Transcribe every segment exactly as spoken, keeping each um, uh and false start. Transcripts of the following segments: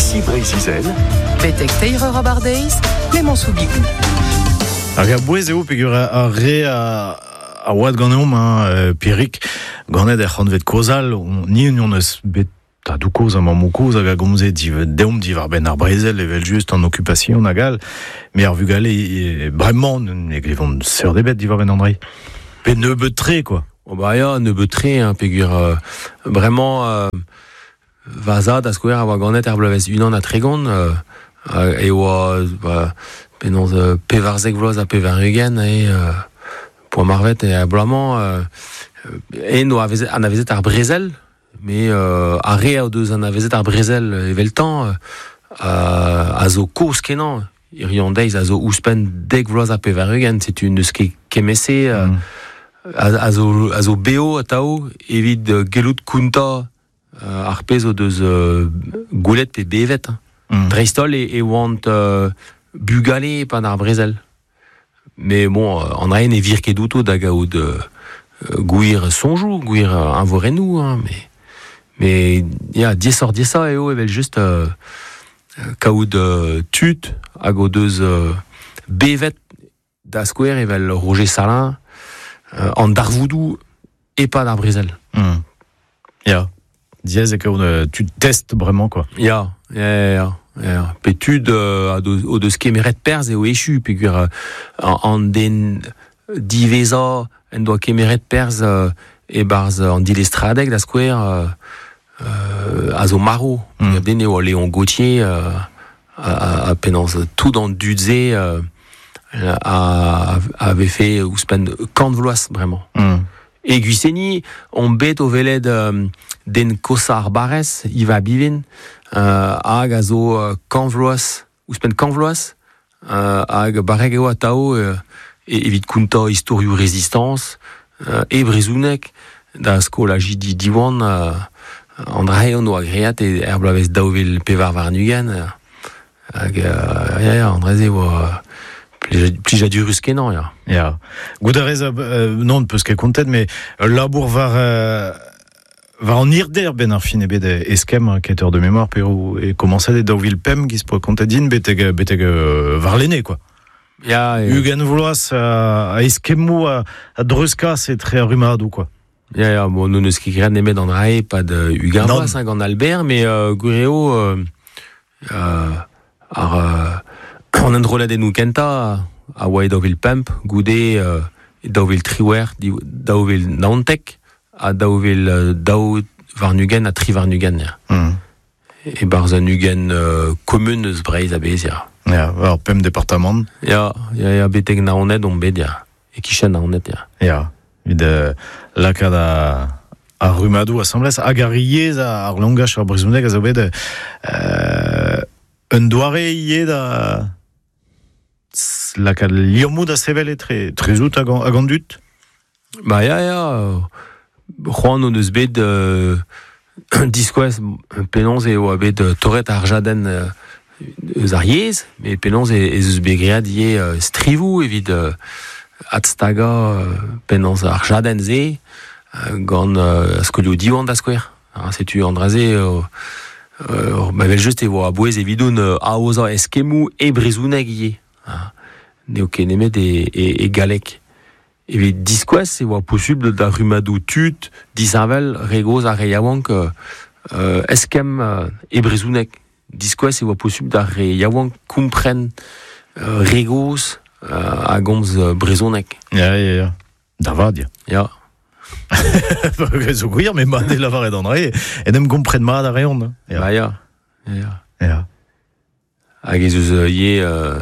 Ici Breizh-Izel. Betek teir eur abardeiz, Clément Soubigou. Hag a bouez eo peogwir ar re a, a oad ganeomp, hein, Pierrick, ganet er c'hantved kozal, on, ni on eus bet tadou kozh ha mammou kozh hag a gomze div, deomp diwar benn ar brezel evel just an okupasion hag all, met ar vugale e, bremañ ne glevont seurt ebet diwar benn an dra. Pe nebeut tre, quoi. Oh bah ya, nebeut tre, hein, peogwir euh, bremañ euh, va zad a skouer a oa ganet er bloavezh unan ha tregont, euh, e oa ba, penaos euh, pevarzek vloaz ha pevar-ugent e euh, poa marvet e a bloaz-mañ euh, en oa anavezet ar brezel, mais euh, ar re o deus anavezet ar brezel eveltañ euh, a zo kozh kenañ hiziv an deiz a zo ouzhpenn dek vloaz ha pevar-ugent, setu n'eus ket kement-se euh, mm. a, a zo, a zo beo atao evit uh, gellout kontañ uh, ar pezh o deus uh, gwelet pe bevet. Mm. Dreist-holl e, e oant uh, bugale e-pad ar brezel. Mais bon, an dra-se ne vir ket outo da gaout uh, gwir soñjoù, gwir eñvorennoù, hein, mais mais ya, diaesoc'h diaesañ eo evel just euh, kaout euh, tud hag o deus euh, bevet da skouer evel Roger Salin euh, an darvoudoù e-pad ar brezel. Mm. Ya, diaes eo kaout euh, tud test bremañ, quoi. Ya, ya, ya, ya. Pe tud euh, o deus kemeret perzh eo echu, peogwir euh, an den diwezhañ en doa kemeret perzh euh, e-barzh an dilestradeg da skouer euh, euh, a zo marv. Mm. Den eo Léon Gauthier euh, a, a penaos tout an dud-se euh, a, avait fait ouzhpenn kant vloaz bremañ. Mm. E Gwiseni, on bet o welet euh, den kosañ ar barrez, Yves Abivin, euh, hag a zo euh, kant vloaz, ouzhpenn kant vloaz, euh, hag barrek eo atao euh, evit kontañ istorioù rezistañs, euh, e brezhoneg, da skolajidi Diwan, euh, an dra-se hon oa graet e er bloavezh daou vil pevar warn-ugent, hag euh, ya, ya, an dra-se oa plijadurus kenañ, ya. Ya. Goût a rez, euh, non, peus ket kontet, mais labour war, euh, war an hirder ben ar fin ebet eskemm quêteur de mémoire pe e komañset e daou vil pemp giz poa kontet din betek, betek euh, warlene, quoi. Ya, ya. Ugent vloaz a, a eskemmoù a, a dreuzkas etre ar rummadoù, quoi. Ya, ya, bon, nous n'eus ket graet nemet an dra-se pad ugent vloaz, hein, gant Albert, mais euh, gwir eo euh, euh, ar euh, an enrolladennoù kentañ a oa e daou vil pemp, goude euh, daou vil triwec'h, daou vil naontek, ha daou vil daou warn-ugent ha tri warn-ugent, ya. Mm. E-barzh an ugent euh, komun eus Breizh a-bezh, ya. Ya, war pemp departamant. Ya, ya, ya, betek Naoned on bet, ya. E-kichen Naoned, ya. Ya, evit euh, lakaat a, ar rummadoù asambles, hag ar yezh ar langach ar brezhoneg a zo bet euh, un doare ivez da lakaat liammoù da sevel etre trezout hag hag an dud. Ba ya, ya, c'hoant hon eus bet euh, diskouez penaos e oa bet torret ar jadenn euh, eus ar yezh, met penaos e, ez eus bet graet ivez euh, strivoù evit euh, adstagañ euh, penaos ar jadenn-se euh, gant euh, skolioù Diwan da skouer. Ha, setu an dra-se euh, euh, ma vel just e oa a-bouez evidoun euh, aozañ eskemmoù e brezhoneg ivez. Ha, n'eo ket nemet e, e, e galleg. Evit diskouez e oa posubl da rummadoù tud disheñvel re gozh ha re yaouank euh, eskemm euh, e brezhoneg. Diskouez e oa posubl d'ar re yaouank kompren euh, re gozh euh, a gomz brezhoneg. Ya, ya, ya. Da vat, ya. Ya. Zo gwir, met mat eo lavaret an dra-se, en em gompren mat a reont. Ya. Ba ya. Ya, ya. Ya. Hag ez eus ivez euh,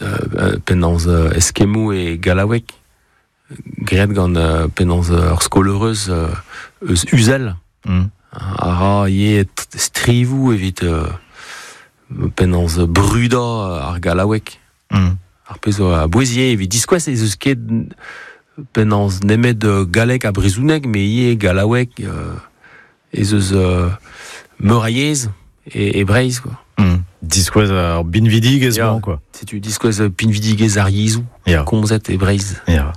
euh, penaos euh, eskemmoù e gallaoueg, graet gant euh, penaos ur skol-heureuz euh, eus Uzel. Mm. A ra ivez strivoù evit euh, penaos brudañ ar gallaoueg. Mm. Ar pezh zo a-bouez ivez evit diskouez ez eus ket penaos nemet galleg ha brezhoneg, met ivez gallaoueg euh, ez eus euh, meur a yezh e, e Breizh, quoi. Mm. Diskouez ar binvidigezh Ya. mañ, quoi. Setu diskouez pinvidigezh ar yezhoù Ya. komzet e Breizh. Ya.